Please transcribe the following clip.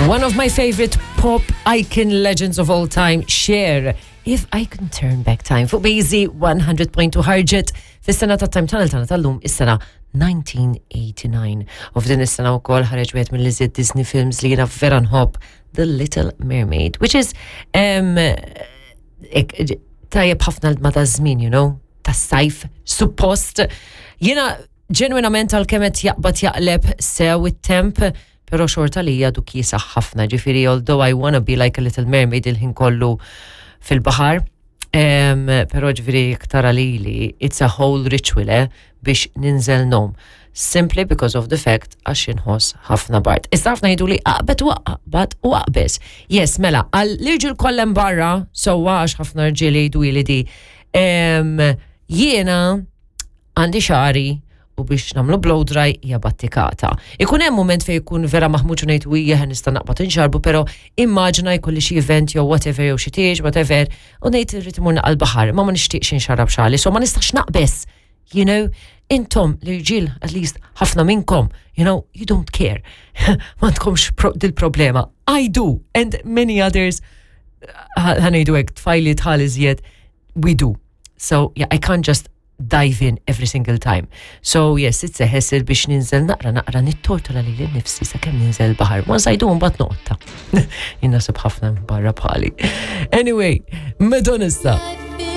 One of my favorite pop icon legends of all time, Cher. If I Can Turn Back Time. Fuq Bejzi 100.2 ħarġet fis-sena ta' Time Tunnel tagħna tal-lum is-sena 1989. U f'din is-sena wkoll ħareġ wieħed mill-iżjed Disney films li jiena vera nħobb, The Little Mermaid, which is um, tajjeb ħafna ma ta' żmien, you know, tas-sajf, suppost. Jiena ġenwinament għal-kemm qed jaqbad jaqleb sew it-temp, pero xorta li għadu kiesaħ ħafna, ġifiri, although I wanna be like a little mermaid il-ħin kollu fil-bahar, um, pero ġifiri iktar għalili, it's a whole ritual, eh, biex ninżel nom. Simply because of the fact għax inħoss ħafna bard. Issa ħafna jgħidu li aqbet u aqbad u aqbes. Yes, mela, għal l-irġiel kollem barra, sewwa għax ħafna rġiel jgħidu li di. Jiena għandi xari u biex namlu blow dry hija battikata. Ikun hemm moment fejn ikun vera maħmuġ u ngħid wijja nista' naqbad inxarbu, però immaġina jkolli xi event jew whatever jew xi tieġ whatever u ngħid irrid imur naqal baħar, ma ma nixtieqx inxarab xali, so ma nistax naqbes. You know, intom l-irġiel, at least ħafna minnkom, you know, you don't care. Ma tkomx pro dil-problema. I do, and many others, ħa ngħidu hekk, tfajli tħal iżjed, we do. So, yeah, I can't just dive in every single time. So, yes, it's a hassle biex ninżel naqra naqra nittortola li l-nifsi sa' kem ninżel bahar. Once I do, mbagħad noqta. Jien nasib ħafna barra bħali. Anyway, Madonna issa.